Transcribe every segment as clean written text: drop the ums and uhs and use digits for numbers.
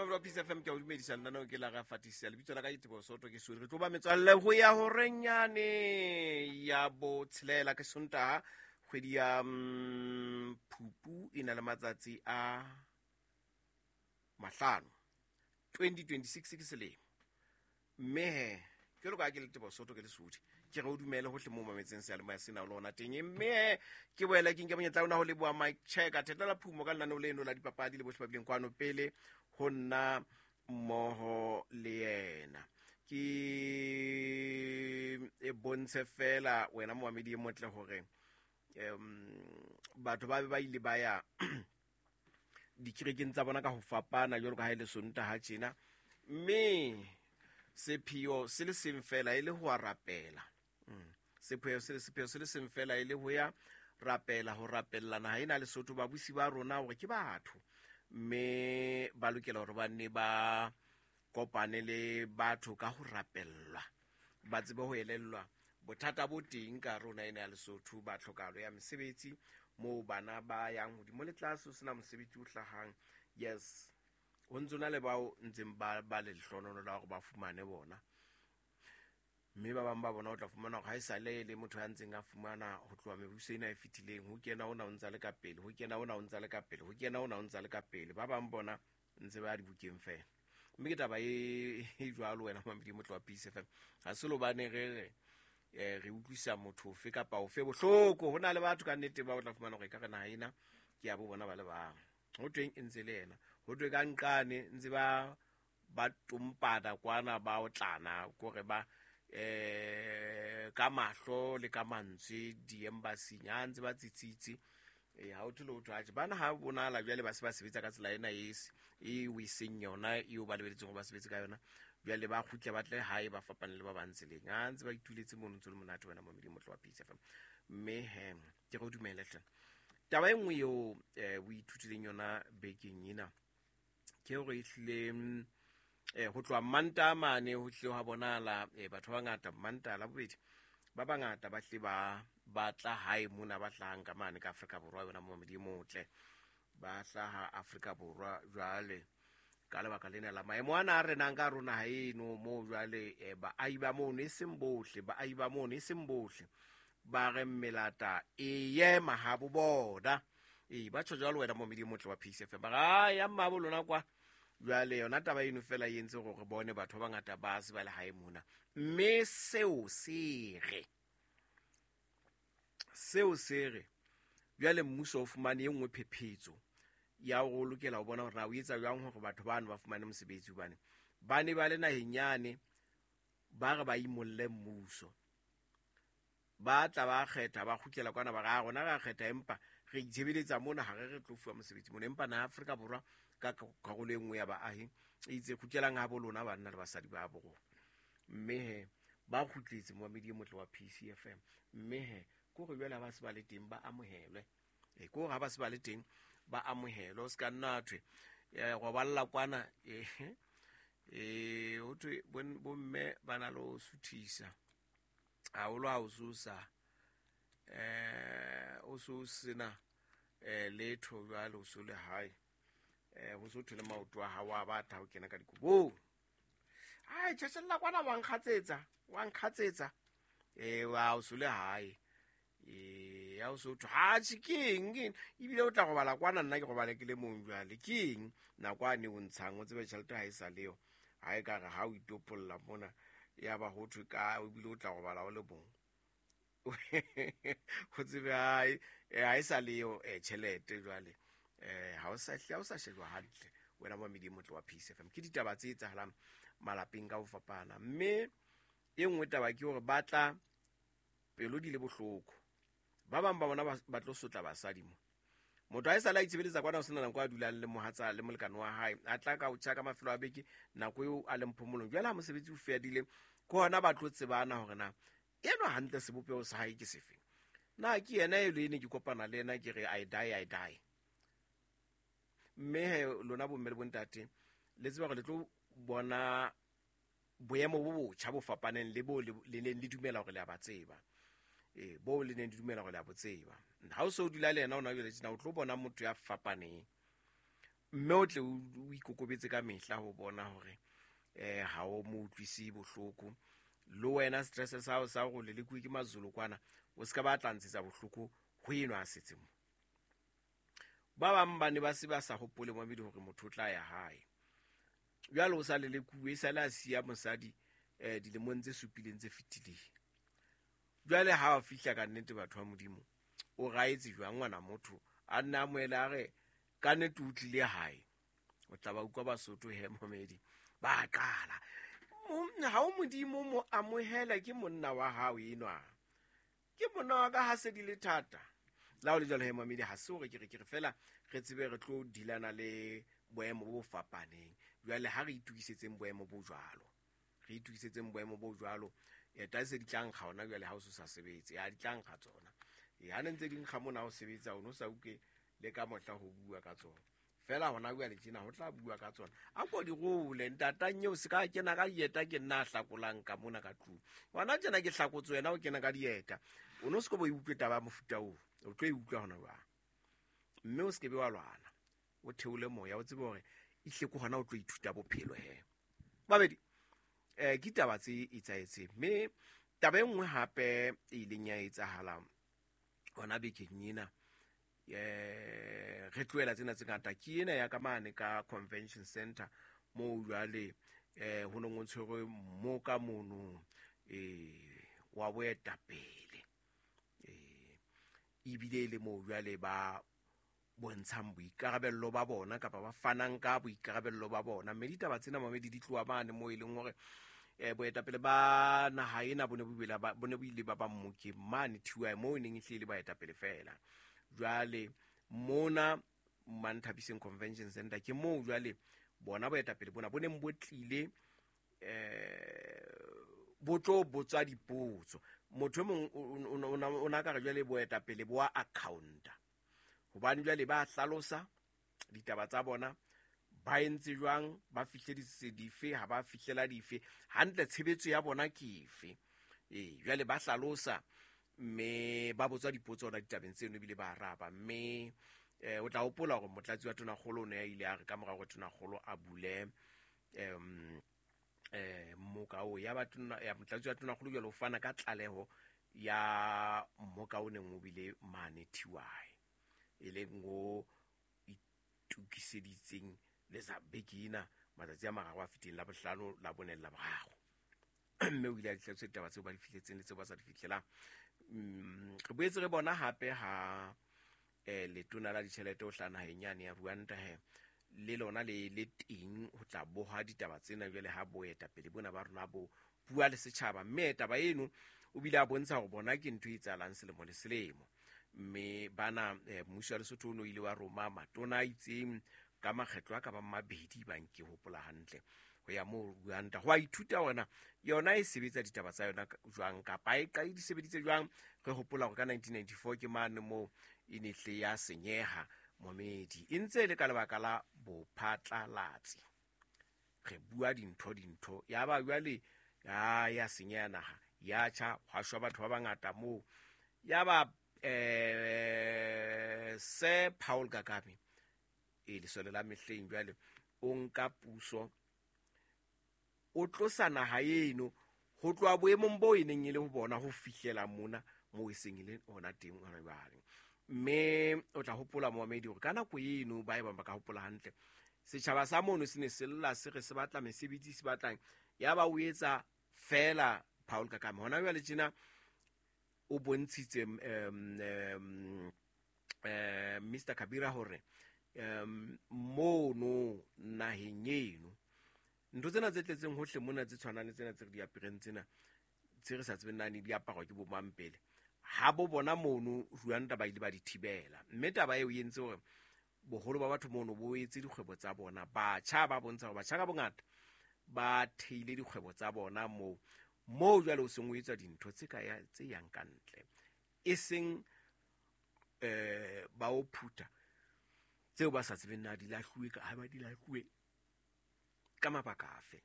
Mamelo wa Peace FM, ke a o dumedisa. Lenaneo ke la ga fatisa, lebitso la ka ke Teboho Soto, ke suri. Re tlo ba metswalle ho ya horenyane ya botshelela, ke Sontaha, kgwedi ya Phupu, e na le matsatsi a 5, 2026 ke selemo. Mme he, jwalo ka ha ke le Teboho Soto, ke le Sodi, ke re o dumele hohle moo mametseng seyalemoya sena o le ona teng. Mme he, ke boela ke nke monyetla ona ho leboha Mike Checker Thetela Phumo ka lenaneo leno la dipapadi le bohle ba bileng kwano pele ho nna mmoho le yena. Ke e bontshe fela wena momamedi e motle hore batho ba be ba ile ba ya dikerekeng tsa bona ka ho fapana jwalo ka ha e le Sontaha tjena, mme sepheo se le seng fela e le ho a rapela. Sepheo se le seng fela e le ho ya rapela, ho rapella naha ena Lesotho, babusi ba rona, hore ke batho mme ba lokela hore ba nne ba kopane le batho ka ho rapellwa, ba tsebe ho elellwa bothata bo teng ka rona ena ya Lesotho, ba tlhokahalo ya mesebetsi, moo bana ba yang hodimo le tlase ho sena mosebetsi o hlahang. Yes, ho ntse na le bao ntseng ba le lehlohonololo la hore ba fumane bona, mme ba bang ba bona o tla fumana hore ha e sale le motho ya ntseng a fumana ho tloha mebuso ena e fetileng, ho kena ona o ntsa le ka pele, ho kena ona o ntsa le ka pele, ho kena ona o ntsa le ka pele, ba bang bona ntse ba ya dibukeng fela. Mme ke taba e jwalo, wena mamedi motlo wa Peace FM. Ha se lobane re re re utlwisa motho ofe kapa ofe bohloko. Ho na le batho ka nnete ba o tla fumana hore ka re naha ena ke ya bo bona ba le bang, ho tweng e ntse le yena, ho thwe ka nqane ntse ba tompana kwana, ba otlana kore ba ka mahlo le ka mantswe di-embassy-ing, ha ntse ba tsitsitse. Ha o thole ho thwe atjhe, bana ha bonahala jwale ba se ba sebetsa ka tsela ena e e o e seng yona eo ba lebeletseng hore ba sebetse ka yona. Jwale ba kgutle ba tle hae, ba fapane le ba bang tseleng, ha ntse ba ituletse mono, ntse le monate wena momedi motlo wa Peace FM. Mme he, ke re o dumele hle. Taba e nngwe eo o ithutileng yona bekeng ena ke hore ehlile ho tloha Mantaha mane ho hlile hwa bonahala batho ba bangata Mantaha la bobedi, ba bangata ba hle ba batla hae mona, ba hlahang ka mane ka Afrika Borwa, yona momedi e motle, ba hlaha Afrika Borwa. Jwale ka lebaka lena la maemo ana a renang ka rona ha eno moo, jwale baahi ba mono, e seng bohle, baahi ba mono, e seng bohle, ba re melata e ye mahabo bona. Ee, ba tjho jwalo, wena momedi e motle wa Peace FM, ba re a ya mmabo lona kwa. Jwale yona taba eno fela e entse gore re bone batho ba bangata ba se ba le hae mona. Mme seo se re jwale mmuso o fumane e nngwe phephetso ya hore o lokela ho bona hore na o etsa jwang hore batho bano ba fumane mosebetsi, hobane ba ne ba le naheng yane, ba re ba imolle mmuso, ba tla ba kgetha, ba kgutlela kwana, ba re a rona ra kgetha, empa re itshebeletsa mona, ha re re tlo fuwa mosebetsi mona. Empa naha Afrika Borwa ka karolo e nngwe ya baahi e itse kgutlelang ha bo lona, banna le basadi ba bo rona. Mme he, ba kgutletse, momamedi e motle wa PCFM. Mme he, ke hore jwale ha ba se ba le teng ba amohelwe. Ke hore ha ba se ba le teng ba amohelwe, o se ka nna thwe roballa kwana. Ho thwe bomme ba na le ho suthisa haholo ha o so sa o so sena letho. Jwale o so le hae, ho so thwe le maoto a hao a batla ho kena ka dikobong. Ai, tjheshella kwana, wa nkgatsetsa, wa nkgatsetsa. Wa o so le hae, ya o so thwe ha tjhe, ke eng, ke eng? Ebile o tla robala kwana, nna ke robale ke le mong. Jwale ke eng nako a ne o ntshang, o tsebe tjhelete ha e sa leyo, ha e ka re ha o itopolla mona, ya ba ho thwe ka ebile o tla robala o le mong, o tsebe hae ha e sa leyo tjhelete. Jwale ha o sa shejwa hantle, wena mamedi e motle wa Peace FM. Ke ditaba tse etsahalang malapeng ka ho fapana. Mme e nngwe taba ke hore ba tla pelo di le bohloko, ba bang ba bona ba tlo sotla basadi mo. Motho ha e sale a itshebeletsa kwana, ho sena nako a dulang le mohatsa le molekane wa hae, a tla ka o tjha ka mafelo a beke, nako eo a leng phomolong. Jwale ha mosebetsi o fedile, ke hona ba tlo tsebana hore na enwa hantle sebopeho sa hae ke sefe, na ke yena e le ne ke kopana le yena ke re I die, I die. Mme he, lona bomme le bontate, le tseba hore le tlo bona boemo bo botjha bo fapaneng le bo le neng le dumela hore le a ba tseba, bo le neng le dumela hore le a bo tseba. Ha o se o dula le yena ona jwale tjena, o tlo bona motho ya fapaneng. Mme o tle o ikokobetse ka mehla ho bona hore ha o mo utlwise bohloko. Le wena stress sa hao sa hore o lelekuwe ke Mazulu kwana, o se ka ba tla ntshetsa bohloko ho enwa a setseng mo. Ba bang ba ne ba se ba sa hopole momedi hore motho o tla ya hae. Jwale o sa lelekuwe, e sale a siya mosadi dilemong tse supileng tse fetileng. Jwale ha o fihla ka nnete batho ba Modimo, o raetse jwang ngwana motho a nna a moele a re ka nnete o tlile hae. O tla ba utlwa Basotho he momedi ba qala. Ha o Modimo mo amohela ke monna wa hao enwa. Ke monna wa ka ha se di le thata. La ho le jwalo he momedi, ha se hore ke re ke re fela re tsebe re tlo dilana le boemo bo fapaneng. Jwale ha re itokisetseng boemo bo jwalo. Re itokisetseng boemo bo jwalo. Eta se di tla nkga hona jwale ha o se sa sebetse. Ya di tla nkga tsona. Ha ne ntse di nkga mona o sebetsa, o no sa utlwe le ka mohla ho bua ka tsona. Fela hona jwale tjena ho tla bua ka tsona. A ko di role, ntatang eo se ka kena ka dieta ke nna a hlakolang ka mona ka tlung. Hona tjena ke hlakotse wena o kena ka dieta. O no se ke bo e utlwe taba ya mofuta oo. O tlo e utlwa hona jwang. Mme o se ke be wa lwana. O theole moya, o tsebe hore ehlile ke hona o tlo ithuta bophelo he. Babedi, ke taba tse etsahetseng. Mme taba e nngwe hape e ileng ya etsahala hona bekeng ena, re tlohela tsena tse ngata, ke ena ya ka mane ka convention center moo jwale ho neng ho tshwerwe mmoka mono wa boetapele, ebile e le moo jwale ba bontshang boikarabello ba bona kapa ba fanang ka boikarabello ba bona. Mme ditaba tsena mamedi di tloha mane moo e leng hore boetapele ba naha ena bo ne bo ile ba ba mmokeng mane TY moo e neng e hlile baetapele fela. Jwale mona Manthabiseng Convention Center ke moo jwale bona boetapele bona bo neng bo tlile bo tlo botswa dipotso. Motho e mong o na ka re jwale boetapele bo a accounta, hobane jwale ba hlalosa ditaba tsa bona, ba entse jwang, ba fihleditse dife, ha ba fihlela dife, hantle tshebetso ya bona ke efe. Jwale ba hlalosa mme ba botswa dipotso hona ditabeng tseno ebile ba araba. Mme o tla hopola hore motlatsi wa Tonakgolo o ne a ile a re ka mora hore Tonakgolo a bule mmoka oo, ya ba ya motlatsi wa Tonakgolo jwale o fana ka tlaleho ya mmoka o neng o bile mane TY, e leng o itokiseditseng le sa beke ena matsatsi a mararo a fetileng, la bohlano, la bone, la boraro. Mme o ile a ditlhakiso ditaba tseo ba di fihletseng le tseo ba sa di fihlelang. Re boetse re bona hape ha letona la ditjhelete ho hlaha naheng yane ya Rwanda he, le lona le teng ho tla boha ditaba tsena jwale ha boetapele bona ba rona bo bua le setjhaba. Mme taba eno o bile a bontsha hore bona ke ntho e etsahalang selemo le selemo. Mme bana mmuso wa Lesotho o no ile wa roma matona a itseng ka makgetlo a ka bang mabedi, bang ke hopola hantle, ho ya moo Rwanda ho a ithuta hore na yona e sebetsa ditaba tsa yona jwang, kapa e qale di sebeditse jwang. Re hopola hore ka 1994 ke mane moo e ne hle ya senyeha momedi, e ntse e le ka lebaka la bophatlalatsi. Re bua dintho ya ba jwale ya senyeha naha, ya tjha, hwa shwa batho ba bangata moo. Ya ba Sir Paul Kagame, e lesole la mehleng jwale, o nka puso, o tlosa naha eno ho tloha boemong bo e neng e le ho bona ho fihlela mona moo e seng e le hona teng hona jwale. Mme o tla hopola momedi hore ka nako eno ba e bang ba ka hopola hantle, setjhaba sa mono se ne se lla se re se batla mesebetsi, se batlang, ya ba o etsa fela Paul Kagame. Hona jwale tjena o bontshitse Mr Kabira hore mono naheng eno ntho tsena tse tletseng hohle mona tse tshwanang le tsena tse re di apereng tsena tse re sa tsebeng na ne di aparwa ke bo mang pele, ha bo bona mono Rwanda ba ile ba di thibela. Mme taba eo e entse hore boholo ba batho mono bo etse dikgwebo tsa bona. Batjha ba bontsha hore batjha ka bongata ba theile dikgwebo tsa bona moo, moo jwale o seng o etsa dintho tse ka ya, tse yang ka ntle, e seng ba o phutha tseo ba sa tsebeng na di lahluwe ka, ha ba di lahluwe ka mabaka afe.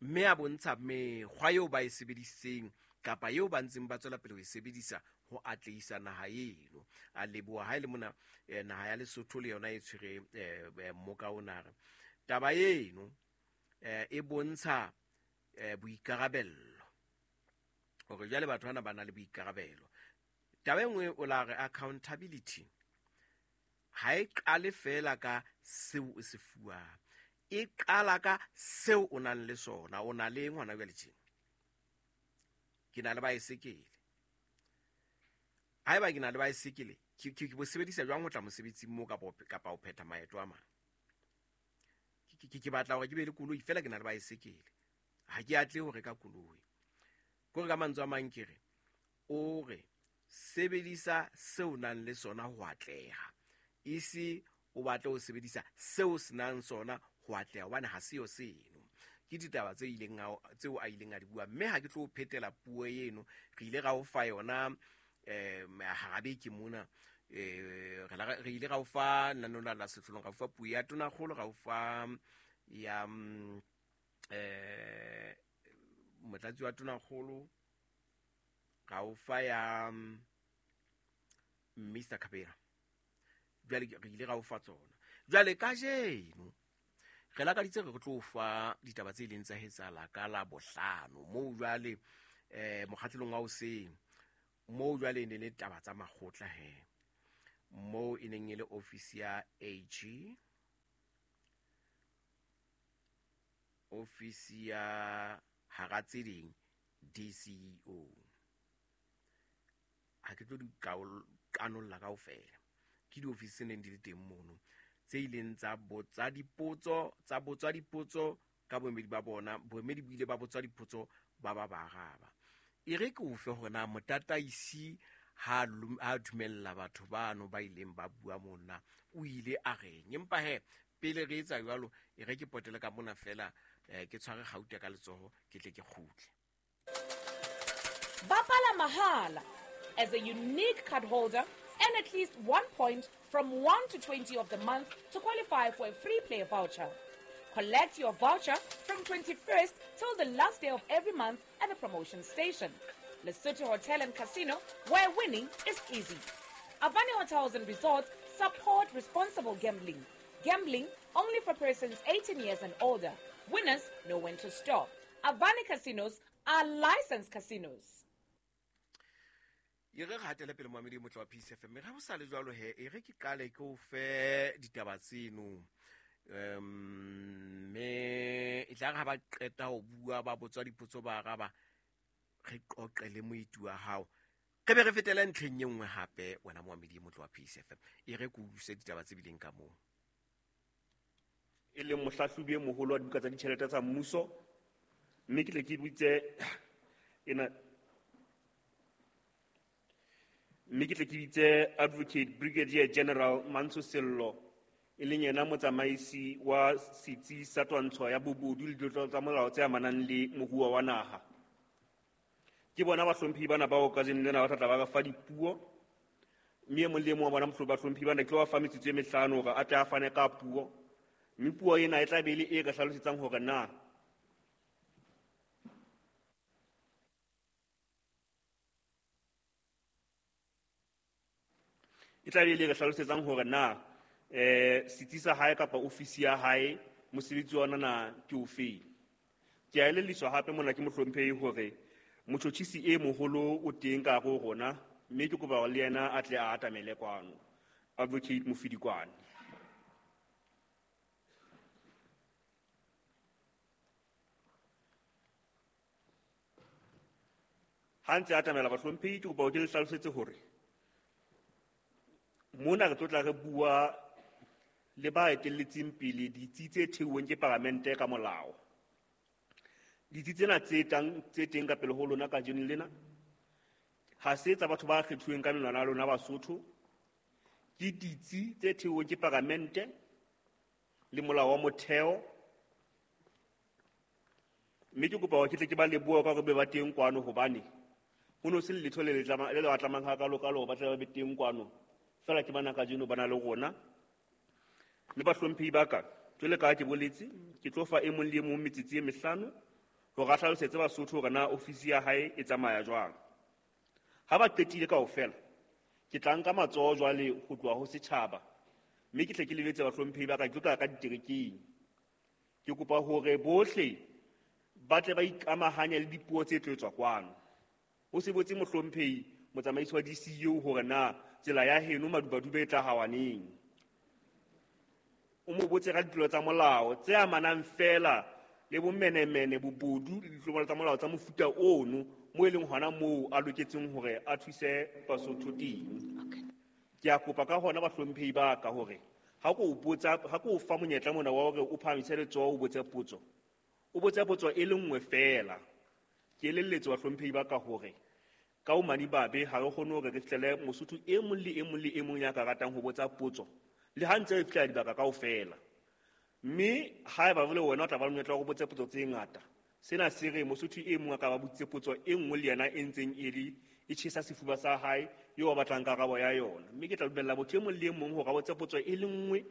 Mme a bontsha mekgwa eo ba e sebedisitseng kapa eo ba ntseng ba tswela pele ho e sebedisa ho atlehisa naha eno. A leboha ha e le mona naha ya Lesotho le yona e tshwere mmoka ona. Re taba eno e bontsha boikarabello, hore jwale batho bana ba na le boikarabelo. Taba e nngwe o la re accountability ha e qale fela ka seo o se fuwang, e qala ka seo o nang le sona. O na le eng hona jwale tjena? Ke na le baesekele. Haeba ke na le baesekele, ke bo sebedisa jwang ho tla mosebetsing moo kapa ho phetha maeto a mang? Ke batla hore ke be le koloi, fela ke na le baesekele, ha ke atle ho reka koloi. Kore ka mantswe a mang ke re, o re sebedisa seo o nang le sona ho atleha, e se o batle ho sebedisa seo o se nang sona ho atleha, hobane ha seo seno. Ke ditaba tse ileng tseo a ileng a di bua, mme ha ke tlo phetela puo eno, re ile ra o fa yona hara beke mona. Re ile ra o fa lenaneo la sehlolong, ra o fa puo ya tonakgolo, ra o fa ya motlatsi wa tonakgolo, ra o fa ya Mr Kabera. Jwale re ile ra o fa tsona. Jwale kajeno re lakaditse re tlo fa ditaba tse ileng tsa etsahala ka la bohlano moo jwale mokgahlelong wa hoseng, moo jwale e ne le taba tsa makgotla he, moo e neng e le ofisi ya AG, ofisi ya hara tse ding DCEO. Ha ke tlo di kanolla kaofela, ke diofisi tse neng di le teng mono tse ileng tsa botsa dipotso, tsa botswa dipotso ka boemedi ba bona, boemedi bo ile ba botswa dipotso ba ba ba araba. E re ke o fe hore na motataisi ha dumella batho bano ba ileng ba bua mona o ile a reng. Empa he pele re etsa jwalo, e re ke potele ka mona fela, ke tshware kgauta ka letsoho, ke tle ke kgutle. Bapala mahala as a unique card holder and at least 1 point from 1 to 20 of the month to qualify for a free play voucher. Collect your voucher from 21st till the last day of every month at the promotion station. Lesotho Hotel and Casino, where winning is easy. Avani Hotels and Resorts support responsible gambling. Gambling only for persons 18 years and older. Winners know when to stop. Avani Casinos are licensed casinos. E re hatele pele moamedi motlo wa Peace FM. Re ha o sa le jwalo he, e re ke qale ke o fe ditaba tseno. Mme e tla re ha ba qeta ho bua, ba botswa dipotso, ba araba, re qoqe le moeti wa hao. Re be re fetele ntlheng e nngwe hape, wena moamedi motlo wa Peace FM. E re ke o utlwise ditaba tse bileng ka moo. E leng mohlahlobi e moholo wa dibuka tsa ditjhelete tsa mmuso, mme ke tle ke bitse ena, mme ke tle ke bitse Advocate Brigadier General Mantsho Sello, e leng yena motsamaisi wa setsi sa twantsho ya bobodu le ditlolo tsa molao tse amanang le moruo wa naha. Ke bona bahlomphehi bana bao kajeno lena ba tla tla ba fa dipuo, mme e mong le e mong wa bona bahlomphehi bana ke tlo ba fa metsotso e mehlano hore a tle a fane ka puo, mme puo ena e tla be e le e ka hlalosetsang hore na e tla be e le re hlalosetsang hore na setsi sa hae kapa ofisi ya hae mosebetsi wa ona na ke ofeng. Ke a elelliswa hape mona ke mohlomphehi hore motjhotjhisi e moholo o teng ka hare ho rona, mme ke kopa hore le yena a tle a atamele kwano. Advocate Mofidikwane. Ha ntse a atamela bahlomphehi, ke kopa hore ke le hlalosetse hore mona re tlo tla re bua le ba etelletseng pele ditsi tse theuweng ke palamente ka molao. Ditsi tsena tse teng ka pele ho lona kajeno lena ha se tsa batho ba kgethuweng ka menwana ya lona Basotho, ke ditsi tse theuweng ke palamente le molao wa motheo. Mme ke kopa hore ke tle ke ba lebohe ka hore be ba teng kwano, hobane ho no se letho le le ba tlamang hakalo-kalo hore ba tle ba be teng kwano. Fela ke bana kajeno ba na le rona. Mme bahlomphehi ba ka, jwale ka ha ke boletse, ke tlo fa e mong le e mong metsotso e mehlano hore a hlalosetse Basotho hore na ofisi ya hae e tsamaya jwang. Ha ba qetile kaofela, ke tla nka matsoho jwale ho tloha ho setjhaba, mme ke tle ke lebetse bahlomphehi ba ka, ke tlo tla ka diterekeng. Ke kopa hore bohle ba tle ba ikamahanye le dipuo tse tlo etswa kwano. O se botse mohlomphehi motsamaisi wa DCU hore na tsela ya heno Madubaduba e tla hawaneng. O mo botse ka ditlolo tsa molao tse amanang fela le bomenemene, bobodu le ditlolo tsa molao tsa mofuta ono, mo e leng hona moo a loketseng hore a thuse Basotho teng. Ke a kopa ka hona bahlomphehi ba ka hore ha ko o botsa, ha ko o fa monyetla mona wa hore o phahamise letsoho o botse potso, o botse potso e le nngwe fela. Ke elelletse bahlomphehi ba ka hore ka o madimabe ha re kgone hore re fihlele Mosotho e mong le e mong le e mong ya ka ratang ho botsa potso, le ha ntse re fihlela dibaka kaofela. Mme haeba jwale wena o tla ba le monyetla wa ho botsa potso tse ngata, sena se re Mosotho e mong a ka ba botsitse potso e nngwe le yena e ntseng e le e tjhesa sefuba sa hae eo a batlang karabo ya yona. Mme ke tla dumella motho e mong le e mong hore a botse potso e le nngwe,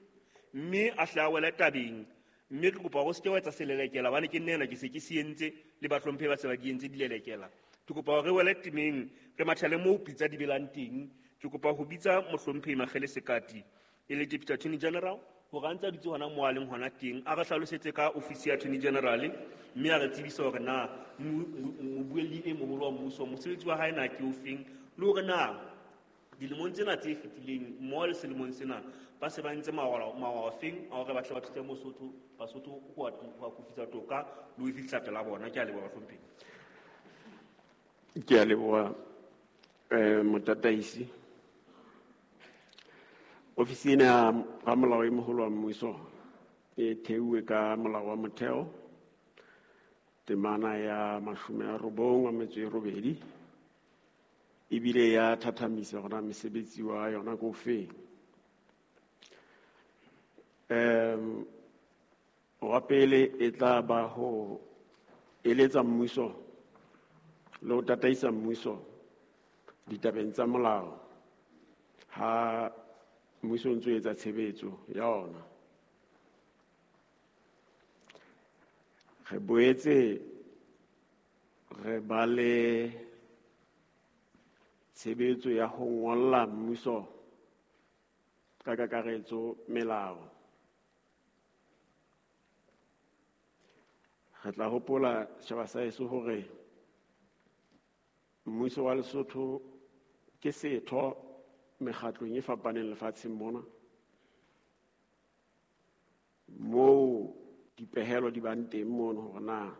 mme a hle a wele tabeng. Mme ke kopa hore o se ke wa etsa selelekela, hobane ke nna ena ke se ke se entse, le bahlomphehi ba se ba di entse dilelekela. Ke kopa hore re wele temeng, re mathele moo pitsa di belang teng. Ke kopa ho bitsa mohlomphehi Makgele Sekati, e le Deputy Attorney General, hore a ntse a dutse hona moo a leng hona teng, a re hlalosetse ka ofisi ya Attorney General, mme a re tsebise hore na mobuelli e moholo wa mmuso, mosebetsi wa hae na ke ofeng, le hore na dilemong tsena tse fetileng mmoho le selemong sena ba se ba ntse mawalo a feng a hore ba tle ba thuse Basotho ho akofisa toka le ho e fihlisa pela bona. Ke a leboha, bahlomphehi. Ke a leboha, motataisi. Ofisi ena ya ramolao e moholo wa mmuso e theuwe ka molao wa motheo temana ya 98 ebile ya thathamisa hore na mesebetsi wa yona ke ofeng. Wa pele e tla ba ho eletsa mmuso le ho tataisa mmuso ditabeng tsa molao ha mmuso o ntso etsa tshebetso ya ona. Re boetse re ba le tshebetso ya ho ngolla mmuso ka kakaretso melao. Re tla hopola setjhaba sa heso hore mmuso wa Lesotho ke setho mekgatlong e fapaneng lefatsheng mona, moo dipehelo di bang teng mono hore na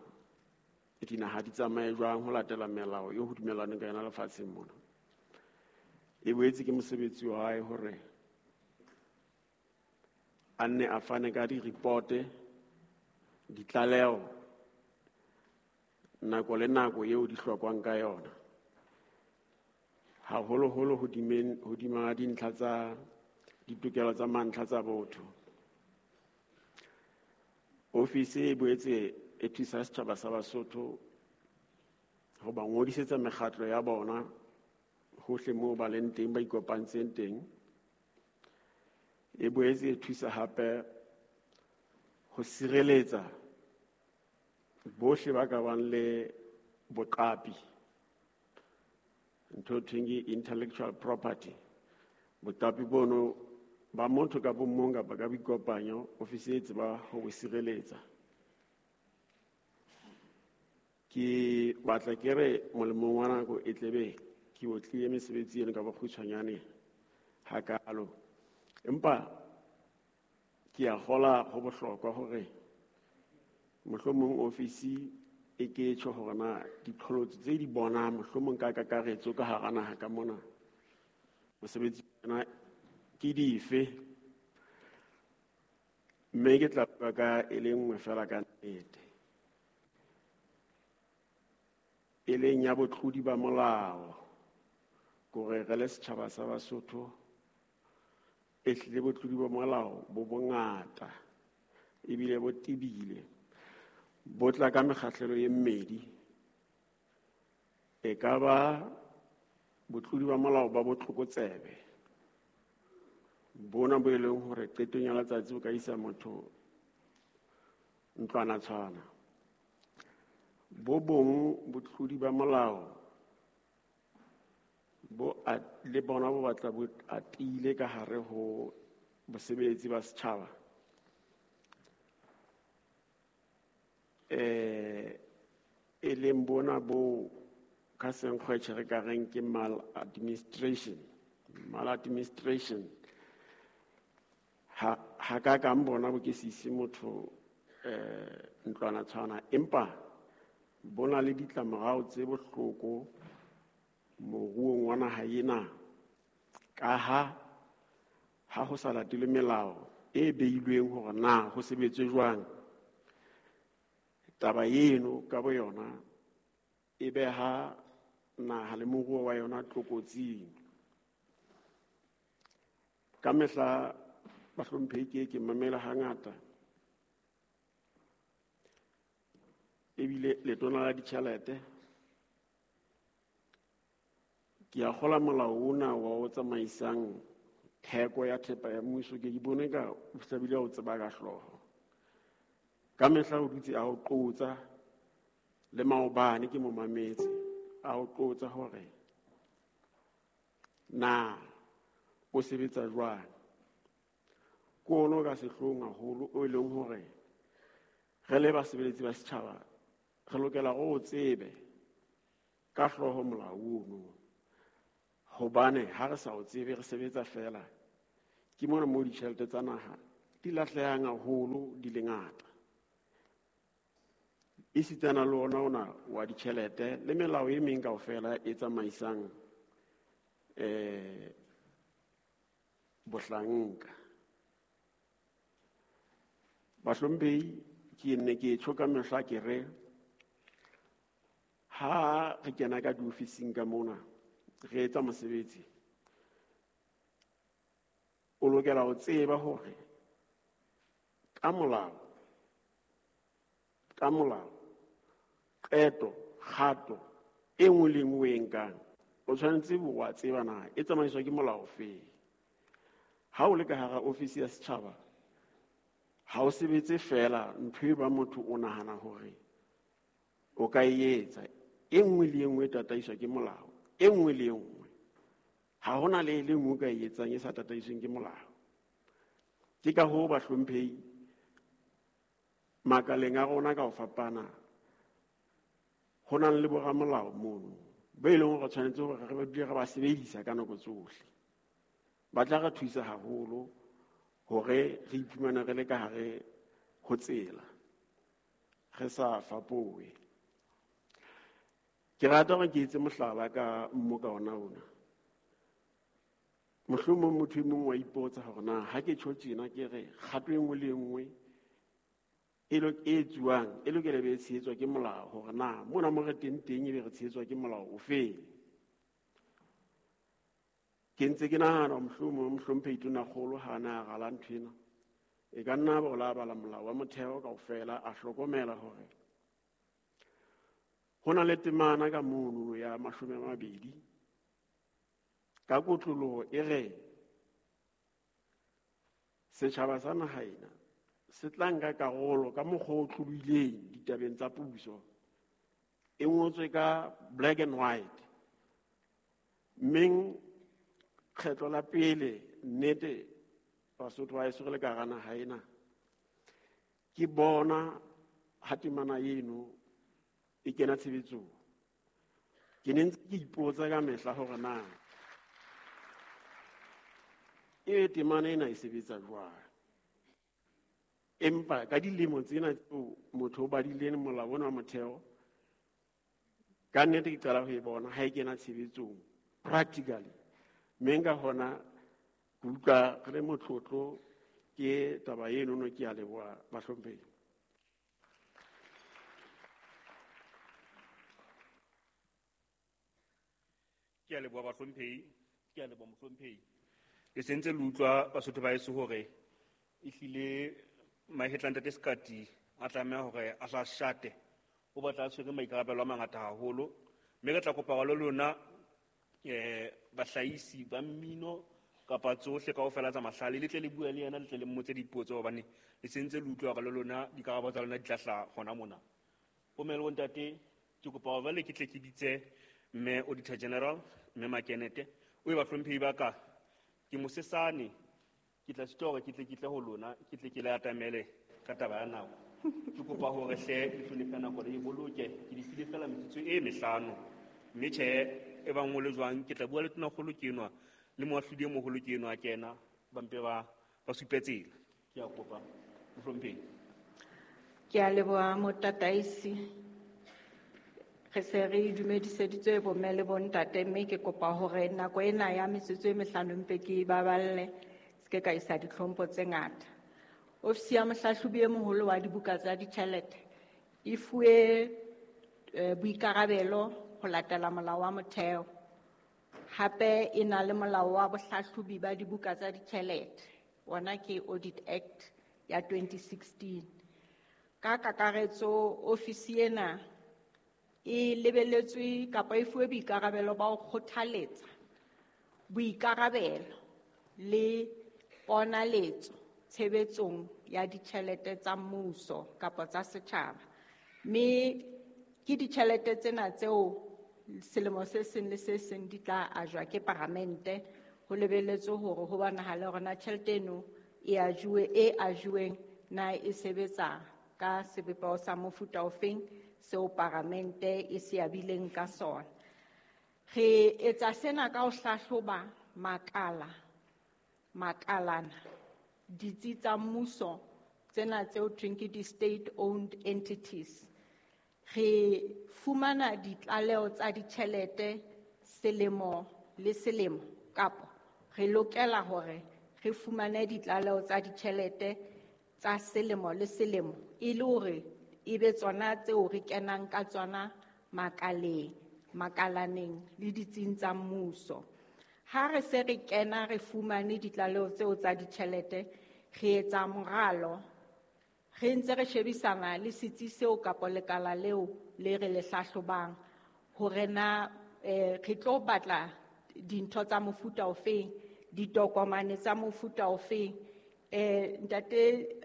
dinaha di tsamaye jwang ho latela melao eo ho dumellanweng ka yona lefatsheng mona. E boetse ke mosebetsi wa hae hore a nne a fane ka di-report-e, ditlaleho nako le nako eo di hlokwang ka yona, haholoholo hodima dintlha tsa ditokelo tsa mantlha tsa botho. Ofisi e boetse e thusa setjhaba sa Basotho ho ba ngodisetsa mekgatlo ya bona hohle moo ba leng teng, ba ikopantseng teng. E boetse e thusa hape ho sireletsa bohle ba ka bang le boqapi, ntho e thweng ke intellectual property. Boqapi bono ba motho ka bo mong kapa ka boikopanyo, ofisi e tseba ho bo sireletsa. Ke batla ke re molemong wa nako e tlebe ke otlile mesebetsi eno ka bokgutshwanyane hakalo, empa ke a kgola ho bohlokwa hore mohlomong ofisi e ke tjho hore na diqholotso tse di bonang mohlomong ka kakaretso ka hara naha ka mona mosebetsi ona ke dife, mme ke tla bua ka e le nngwe fela ka nnete, e leng ya botlodi ba molao. Kore re le setjhaba sa Basotho e hlile botlodi ba molao bo bongata ebile bo tebile, bo tla ka mekgahlelo e mmedi. E ka ba botlodi ba molao ba botlokotsebe, bona bo e leng hore qetong ya letsatsi bo ka isa motho ntlwana tshwana. Bo bong botlodi ba molao bo le bona bo batla bo atile ka hare ho bosebeletsi ba setjhaba. E leng bona bo ka senkgwetjhe re ka reng ke maladministration. Maladministration ha ka kang bona bo ke sise motho ntlwana tshwana, empa bona le ditlamorao tse bohloko moruong wa naha ena, ka ha ho sa latele melao e beilweng hore na ho sebetswe jwang. Taba eno ka bo yona e beha naha le moruo wa yona tlokotsing. Ka mehla bahlomphehi ke mamela hangata, ebile letona la ditjhelete ke a kgola molao ona wa o tsamaisang theko ya thepa ya mmuso, ke bone ka o hlabile o tseba ka hlooho. Ka mehla o dutse a o qotsa, le maobane ke mo mametse a o qotsa hore na o sebetsa jwang. Ke ono ka sehloohong haholo o e leng hore re le basebeletsi ba setjhaba re lokela go o tsebe ka hlooho molao ono, hobane ha re sa o tsebe re sebetsa fela, ke mona mo ditjhelete tsa naha di lahlehang haholo di le ngata. Esitana le ona wa ditjhelete le melao e meng kaofela e tsamaisang bohlanka. Bahlomphehi, ke nne ke tjho ka mehla ke re ha re kena ka diofising ka mona re etsa mosebetsi, o lokela ho tseba hore ka molao qeto kgato e nngwe le nngwe e nkang o tshwanetse wa tseba na e tsamaiswa ke molao ofe. Ha o le ka hara ofisi ya setjhaba ha o sebetse fela ntho e ba motho o nahana hore o ka e etsa, e nngwe le e nngwe e tataiswa ke molao, e nngwe le e nngwe. Ha hona le e le nngwe o ka e etsang e sa tataisweng ke molao. Ke ka hoo bahlomphehi makaleng a rona ka ho fapana ho nang le boramolao mono ba e leng hore tshwanetse hore re ba dule re ba sebedisa ka nako tsohle. Ba tla re thusa haholo hore re iphumane re le ka hare ho tsela, re sa fapohe. Ke rata hore ke etse mohlala ka mmoka ona ona. Mohlomong motho e mong wa ipotsa hore na ha ke tjho tjena ke re kgato e nngwe le e nngwe e etsuwang e lokela be e tshehetswa ke molao, hore na mona mo re teng teng ebe re tshehetswa ke molao ofe. Ke ntse ke nahana mohlomong mohlomphehi Tonakgolo ha na rala ntho ena, e ka nna ba o la bala molao wa motheo kaofela, a hlokomela hore ho na le temana ka mono ya 20 ka kotloloho e re setjhaba sa naha ena se tla nka karolo ka mokgwa o tlolohileng ditabeng tsa puso. E ngotswe ka black and white. Mmeng kgetlo la pele nnete Basotho ba heso re le ka hara naha ena, ke bona ha temana eno e kena tshebetsong. Ke ne ntse ke ipotsa ka mehla hore na e temana ena e sebetsa jwang. Empa ka dilemo tsena tseo motho o badileng molao ona wa motheo, ka nnete ke qala ho e bona ha e kena tshebetsong practically. Mme nka hona ke utlwa re le motlotlo ke taba eno no, ke a leboha bahlomphehi. Ke a leboha bahlomphehi, ke a leboha mohlomphehi. Le sentse le utlwa Basotho ba heso hore ehlile mahetla ntate Sekati a tlameha hore a hla shate, o batla a tshwere maikarabelo a mangata haholo. Mme re tla kopa le lona bahlahisi ba mmino kapa tsohle kaofela tsa mahlale, le tle le bue le yena, le tle le mmotse dipotso, hobane le sentse le utlwa hore le lona dikarabo tsa lona di tla hlaha hona mona. Bomme le bontate, ke kopa hore jwale ke tle ke bitse Mme Auditor General, Mme Makenete, o e bahlomphehi ba ka, ke mosesane, ke tla sitwa hore ke tle ke tle ho lona, ke tle ke le atamele ka taba ya nako. Ke kopa hore hle le hlonephe nako le e boloke, ke di file fela metsotso e mehlano. Mme tjhe, e bang ho le jwang, ke tla bua le tonakgolo ke enwa, le moahlodi e moholo ke enwa a kena, ba mpe ba supe tsela. Ke a kopa, mohlomphehi. Ke a leboha motataisi. Re se re dumediseditswe bomme le bontate, mme ke kopa hore nako ena ya metsotso e mehlano mpe ke e baballe, se ke ka isa ditlhompho tse ngata. Ofisi ya mohlahlobi e moholo wa dibuka tsa ditjhelete e fuwe boikarabelo ho latela molao wa motheo. Hape e na le molao wa bohlahlobi ba dibuka tsa ditjhelete, ona ke Audit Act ya 2016. Ka kakaretso ofisi ena e lebeletswe kapa e fuwe boikarabelo ba ho kgothaletsa boikarabelo le ponaletso tshebetsong ya ditjhelete tsa mmuso kapa tsa setjhaba. Mme ke ditjhelete tsena tseo selemo se seng le se seng di tla ajwa ke paramente, ho lebeletswe hore ho bonahale hore na tjhelete eno e ajuwe, e ajuweng na e sebetsa ka sebopeho sa mofuta ofeng seo paramente e se abileng ka sona. Re etsa sena ka ho hlahloba makalana, ditsi tsa mmuso tsena tseo thweng ke di-state owned entities. Re fumana ditlaleho tsa ditjhelete selemo le selemo, kapa re lokela hore re fumane ditlaleho tsa ditjhelete tsa selemo le selemo e le hore e be tsona tseo re kenang ka tsona makaleng, makalaneng le ditsing tsa mmuso. Ha re se re kena re fumane ditlaleho tseo tsa ditjhelete, re etsa moralo, re ntse re shebisana le setsi seo kapa lekala leo le re le hlahlobang hore na re tlo batla dintho tsa mofuta ofeng, ditokomane tsa mofuta ofeng. Ntate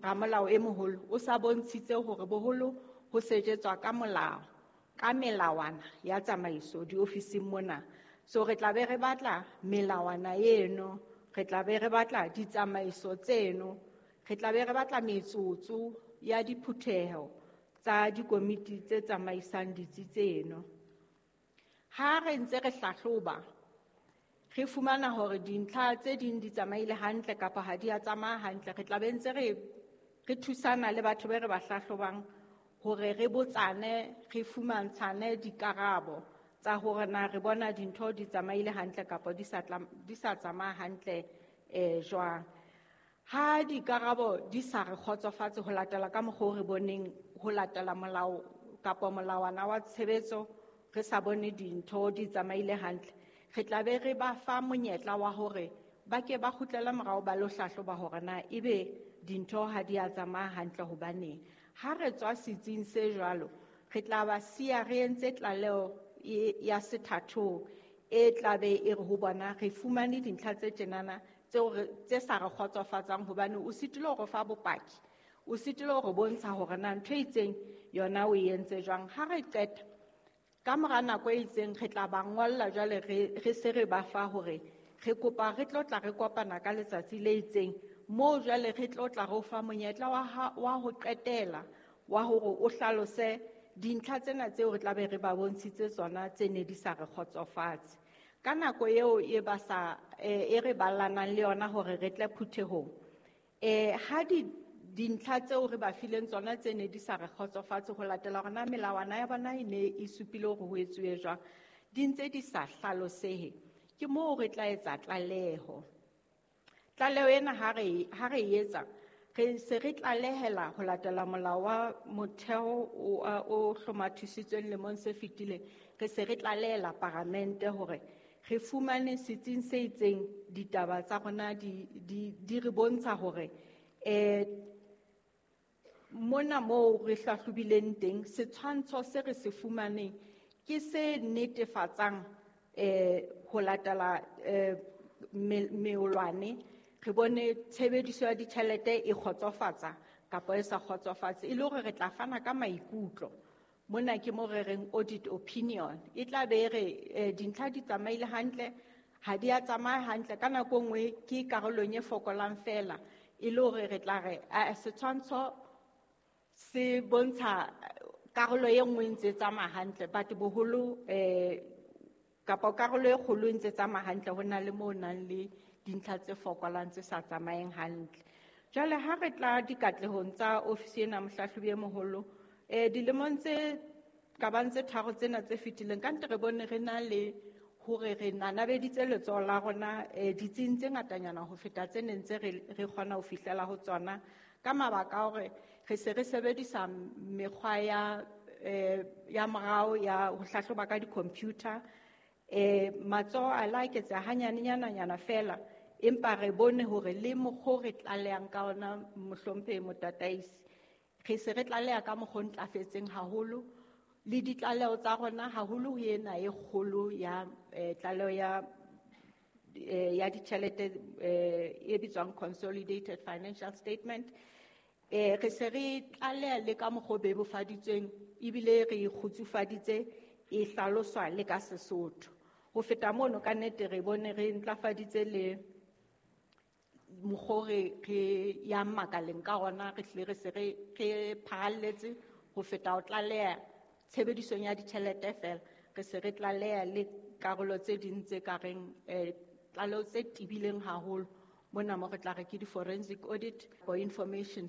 ramolao e moholo o sa bontshitse hore boholo ho sejetswa ka molao, ka melawana ya tsamaiso diofising mona. So re tla be re batla melawana eno, re tla be re batla ditsamaiso tseno, re tla be re batla metsotso ya diphutheho tsa dikomiti tse tsamaisang ditsi tseno. Ha re ntse re hlahloba, re fumana hore dintlha tse ding di tsamaile hantle kapa ha di a tsamaya hantle, re tla be ntse re thusana le batho be re ba hlahlobang hore re botsane, re fumantshane dikarabo tsa hore na re bona dintho di tsamaile hantle kapa di sa tsamaya hantle jwang. Ha dikarabo di sa re kgotsofatse ho latela ka mokgwa o re boneng ho latela molao kapa molawana wa tshebetso, re sa bone dintho di tsamaile hantle, re tla be re ba fa monyetla wa hore ba ke ba kgutlele morao ba lo hlahloba hore na ebe dintho ha di a tsamaya hantle hobaneng. Ha re tswa setsing se jwalo, re tla ba siya re entse tlaleho ya sethathong e tla be e re ho bona re fumane dintlha tse tjenana tseo tse sa re kgotsofatsang, hobane o sitile hore fa bopaki, o sitile hore bontsha hore na ntho e itseng yona o e entse jwang. Ha re qeta ka mora nako e itseng, re tla ba ngolla jwale re se re ba fa hore re kopa re tlo tla re kopana ka letsatsi le itseng, moo jwale re tlo tla re o fa monyetla wa ho qetela wa hore o hlalose dintlha tsena tseo re tla be re ba bontshitse tsona tse ne di sa re kgotsofatse. Ka nako eo e ba sa, e re ballanang le yona hore re tle phuthehong, ha dintlha tseo re ba fileng tsona tse ne di sa re kgotsofatse ho latela hore na melawana ya bona e ne e supile hore ho etsuwe jwang, di ntse di sa hlalosehe, ke moo re tla etsa tlaleho. Tlaleho ena ha re e etsa, re se re tlalehela ho latela molao wa motheo o hlomathisitsweng lemong se fetileng, re se re tlalehela paramente hore re fumane setsing se itseng ditaba tsa rona di re bontsha hore mona moo re hlahlobileng teng, setshwantsho se re se fumaneng ke se netefatsang ho latela meolwane, re bone tshebediso ya ditjhelete e kgotsofatsa kapa e sa kgotsofatse, e le hore re tla fana ka maikutlo Mona ke mo re reng audit opinion. E tla be re dintlha di tsamaile hantle, ha di a tsamaya hantle, ka nako nngwe ke karolong e fokolang fela, e le hore re tla re, setshwantsho se bontsha karolo e nngwe ntse tsamaya hantle, but boholo kapa karolo e kgolo ntse tsamaya hantle, ho na le mo nang le dintlha tse fokolang tse sa tsamayeng hantle. Jwale ha re tla dikatlehong tsa ofisi ena mohlahlobi e moholo, dilemong tse ka bang tse tharo tsena tse fetileng, ka ntle re bone re na le hore re nanabeditse letsoho la rona ditsing tse ngatanyana ho feta tse neng tse re kgona ho fihlela ho tsona, ka mabaka a hore re se re sebedisa mekgwa ya morao ya ho hlahloba ka di-computer. Matsoho a la eketseha hanyanenyana fela, empa re bone hore le mokgwa o re tlalehang ka ona mohlomphehi motataisi, re se re tlaleha ka mokgwa o ntlafetseng haholo, le ditlaleho tsa rona haholo ho ena e kgolo ya tlaleho ya ditjhelete e bitswang Consolidated Financial Statement. Re se re tlaleha le ka mokgwa o bebofaditsweng, ebile re e kgutsufaditse, e hlaloswa le ka Sesotho. Ho feta mono, ka nnete re bone re ntlafaditse le mokgwa o re yang makaleng ka ona, re hlile re se re phahalletse ho feta ho tlaleha tshebedisong ya ditjhelete fela, re se re tlaleha le karolo tse ding tse ka reng tlaleho tse tebileng haholo. Mona mo re tla re ke di-forensic audit for information